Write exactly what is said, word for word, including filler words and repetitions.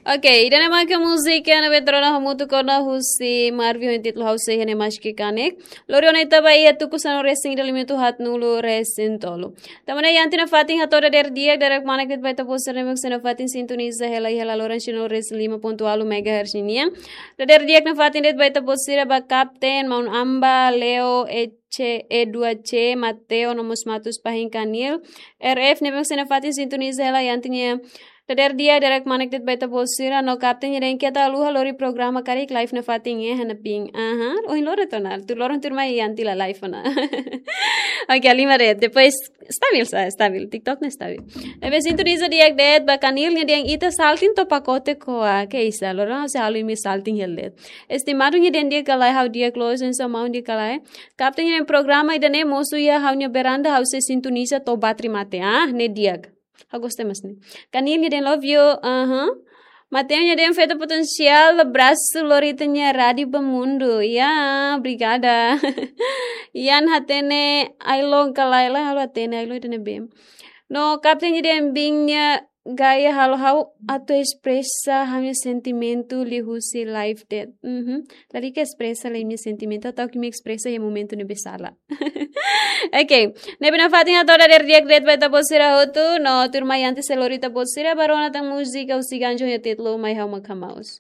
Ok, ida-ne'e mak múzika ne'ebé rona hamutuk ona husi Marvin ho títulu Ha'u Sei Iha Ne'e Mais Ke Kanek. Lori ona ita ba iha tuku sanulu-resin-ida, limite haatnulu-resin-tolu. Tanba ne'e iha ita-nia fatin hato'o dadeer di'ak, dadeer-kmanek de'it ba ita-boot sira ne'ebé sei nafatin sintoniza hela iha laloran sanulu-resin-lima pontu ualu megahertz nian. Dadeer di'ak nafatin de'it ba ita-boot sira ba Kapten, Maun Amba, Leo, Ece, E dua C, Mateo, no mós Matus Pahin Kanil, R F ne'ebé sei nafatin sintoniza hela iha ita-nia dadeer di'ak, dadeer-kmanek de'it ba ita-boot sira, no Kapten nia dehan keta haluha lori programa karik live nafatin iha ne'ebá. Aha, ohin loron to'o ona, tuir loron tuirmai iha ita-nia live ona. Ok, halimar de'it. Depois, stabil sa, stabil. TikTok ne'e stabil. Ne'ebé sintoniza di'ak de'it ba Kanil nia dehan ita salting to'o pakote ko'a. Ke isa, loron ha'u sei halo imi salting hela de'it. Estimadu nia dehan di'ak ka lae, ha'u di'ak loos, oinsá maun, di'ak ka lae. Kapten nia dehan programa ida-ne'e mosu iha ha'u-nia beranda, ha'u sei sintoniza to'o bateria mate. Ah, ne'e di'ak. Ha'u gosta mós ne'e. Kanil nia dehan love you. Aha. Mateo nia dehan feto potensiál, abrasu lori ita-nia Rádio Bamundu. Ya, obrigada. Ian hatene ailon ka lae, lae halo hatene ailon ida-ne'ebé. No Kapten nia dehan biin nia gaya halo ha'u atu espresa ha'u-nia sentimentu liuhusi live de'it. Mhm. Lalika espresa lai imi-nia sentimentu, atu ke imi espresa iha momentu ne'ebé sala. Ok. Ne'ebé nafatin hato'o dadeer di'ak de'it ba ita-boot sira hotu, no tuirmai antes sei lori ita-boot sira ba rona tan múzika husi Ganjo nia títulu Mai Ha'u Mak Hamaus.